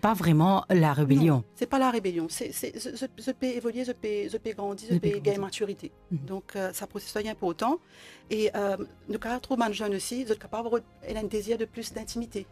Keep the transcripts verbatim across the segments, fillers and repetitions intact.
Pa vreman la rebelion. Non, se pa la rebelion. Se, se, zot, zot, zot pe evolie, zot pe, zot pe grandi, zot pe gagn matirite. Donk, euh, sa prosesis la li inportan. E, euh, nou kapav trouv bann zenn osi, zot kapav rod-, ena enn dezir de plis dintimite,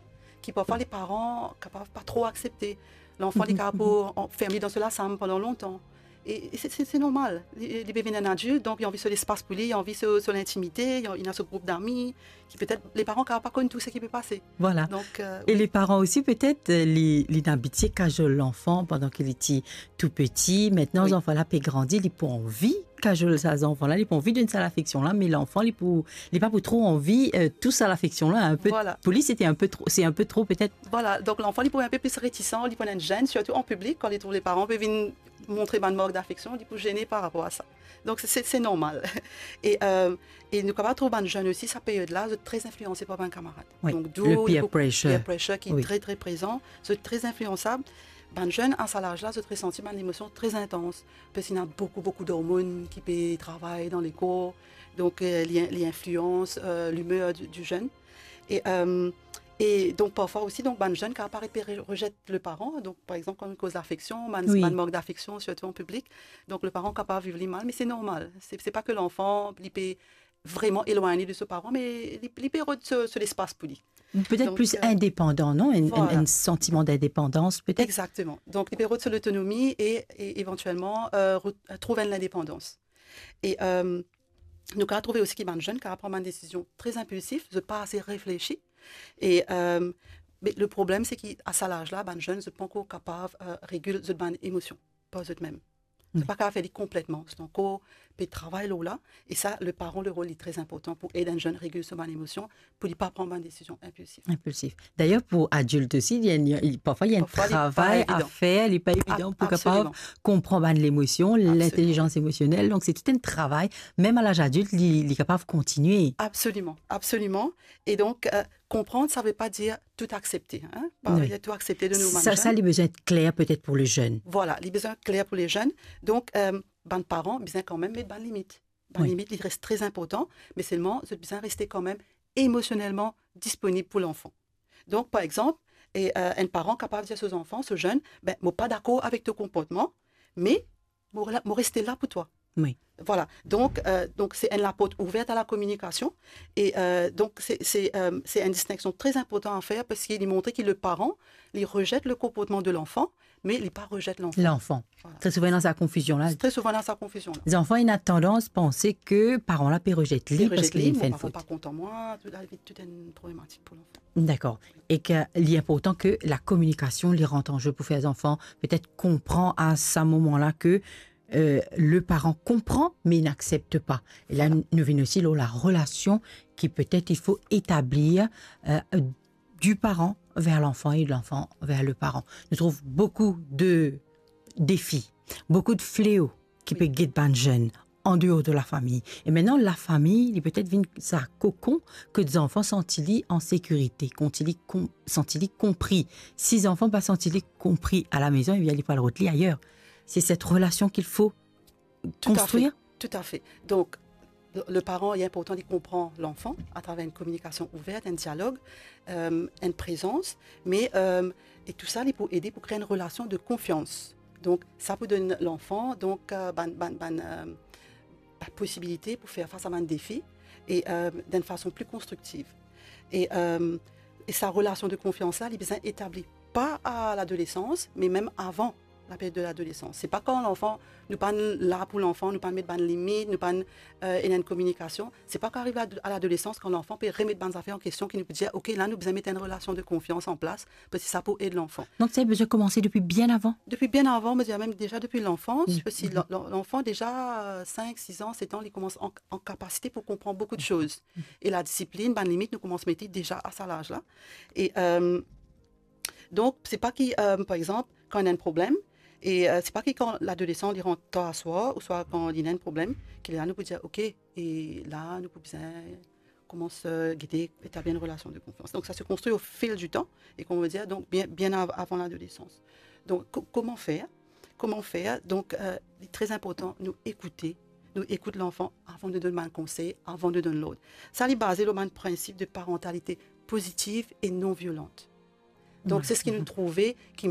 ki parfwa leparan kapav pa tro aksepte. Lanfan, li kapav pou an-, ferm li dan so lasam pandan lontan. E, e se, se, se normal. Li, li pe vinn enn adilt, donk li anvi so lespas pou li, li anvi so, so lintimite, li, li ena so group dami, ki petet leparan kapav pa konn tou seki pe pase. Vwala. Donk, euh, e leparan osi, petet, euh, li, li inn abitie kazol lanfan pandan ki li ti tou piti. Mintnan, zanfan la pe grandi, li pou anvi kazol sa zanfan la, li pou anvi donn sa lafeksion la, me lanfan, li pou, li pa pou tro anvi, euh, tou sa lafeksion la, inpe, pou li, se enn pe tro, se enn pe tro, petet. Vwala, donk lanfan, li pou enn pe plis retisan, li pou ena enn zenn, sirtou an piblik, kan li trouv leparan pe vinn montre bann mark dafeksion, li pou zene par rapor a sa. Donk, se, se, se normal. E, euh, e nou kapav trouv bann zenn osi, sa peryod la, zot tre inflianse par bann kamarad. Wi, donk, d'où le peer pressure. Peer pressure ki tre, tre prezan. Zot tre infliansab. Bann zenn, a sa laz la, zot resanti bann emosion tre intans. Parski ena boukou, boukou dormonn ki pe travay dan lekor. Donk, euh, li, li inflians, euh, limer di, di zenn. E, euh, e donk, parfwa osi, donk, bann zenn kapav paret pe re-, rezet leparan. Donk, par exanp, kan nou koz lafeksion, bann, bann mark dafeksion, sirtou an piblik, donk, leparan kapav viv li mal, me se normal. Se, se pa ke lanfan, li pe vreman elwagne de so paran, me li, li pe rod so, so lespas pou li. Petet plis, euh, indepandan, non? Enn, enn, vwala, enn santiman dindepandans, petet? Exakteman. Donk, li pe rod so lotonomi e, e evantielman, euh, re-, trouv enn lindepandans. E, euh, nou kapav trouve osi ki bann zenn kapav pran bann desizion tre inpilsif, zot pa ase reflesi. E, euh, me le problem, se ki a sa laz la, bann zenn, zot pa ankor kapav, euh, regil zot bann emosion par zot mem. Zot pa kapav fer li konpletman. Zot ankor pe travay lor la. E sa, leparan, lerol li tre inportan pou ed enn zenn regil so bann emosion, pou li pa pran bann desizion inpilsif. Inpilsif. Dayer, pou adilt osi, li, li, parfwa, li ena enn travay a fer, li pa evidan pou kapav konpran bann lemosion, lintelizans emosionel. Donk, se tou enn travay, mem a laz adilt, li, li kapav kontigne. Absoliman, absoliman. E donk, euh, konprann, sa ve pa dir tou aksepte, hein, pa tou aksepte de nou bann zenn. Sa, li bizin et kler petet pou le zenn. Vwala, li bizin kler pou le zenn. Donk, euh, bann paran bizin kanmem met bann limit. Bann limit, li res tre inportan, me selman, zot bizin reste kanmem emosionelman disponib pou lanfan. Donk, par exanp, e, euh, enn paran kapav dir so zanfan, so zenn, "Ben, mo pa dakor avek to konportman, me mo la, mo reste la pou twa." Wi. Vwala. Donk, euh, donk, se enn laport ouver a la kominikasion. E, euh, donk, se, se, euh, se enn distinksion tre inportan a fer, parski li montre ki leparan, li rezet le konportman de lanfan, me li pa rezet lanfan. Lanfan. Vwala. Tre souvan, ena sa konfizion la. Tre souvan, ena sa konfizion la. Zanfan ena tandans panse ke paran la pe rezet li parski li finn fer enn fot. Pe rezet li, mo paran pa kontan mwa, tou, la, tou enn problematik pou lanfan. Dakor. E ke li inportan ke la kominikasion, li rant an ze pou fer zanfan petet konpran a sa moman la ke, euh, leparan konpran, me li aksepte pa. E la, nou, nou vinn osi lor la relasion ki petet il faut établir, euh, du parent vers l'enfant et de l'enfant vers le parent. Nou trouv boukou de defi, boukou de fleo ki pe get bann zenn an deor de lafami. E mintnan, lafami, li petet vinn sa kokon kot zanfan santi li an sekirite, kot li kon-, santi li konpri. Si zanfan pa santi li konpri a la mezon, ebien, li pou al rod li ayer. Se set relasion ki fo konstrir. Toutafe, toutafe. Donk, le, leparan, li inportan li konpran lanfan atraver enn kominikasion ouver, enn dialog, euh, enn prezans, me, euh, e tou sa, li pou ede pou kre enn relasion de konfians. Donk, sa pou donn lanfan, donk, euh, bann, bann, bann, euh, bann posibilite pou fer fas a bann defi e, euh, dan enn fason pli konstriktiv. E, euh, e sa relasion de konfians la, li bizin etabli pa a ladolesans, me mem avan laperyod de ladolesans. Se pa kan lanfan, nou pa'nn la pou lanfan, nou pa'nn met bann limit, nou pa'nn, euh, ena enn kominikasion. Se pa kan arive a, a ladolesans, kan lanfan pe remet bann zafer an kestion, ki nou pou dir, "Ok, la, nou bizin met enn relasion de konfians an plas, parski sa pou ed lanfan." Donk, sa bizin komanse depi bien avan? Depi bien avan, mo dir mem deza depi lanfans, parski la, la, lanfan deza, euh, sink, sis an, set an, li koumans an, an kapasite pou konpran boukou de soz. E ladisiplinn, bann limit, nou koumans mete deza a sa laz la. E, euh, donk, se pa ki, euh, par exanp, kan ena enn problem, e, euh, se pa ki kan ladolesan li rant tar swar, ouswa kan li ena enn problem, ki la nou pou dir, "Ok, e la nou pou bizin koumans, euh, gete etabli enn relasion de konfians." Donk, sa se konstri au fil du temps, e kouma mo dir, donk, bien, bien av-, avan ladolesans. Donk, ko-, kouma fer? Kouma fer? Donk, euh, li tre inportan nou ekoute, nou ekout lanfan avan nou donn bann konsey, avan nou donn lord. Sa, li baze lor bann prinsip de parantalite pozitiv e non violant. Donk, se seki nou trouve ki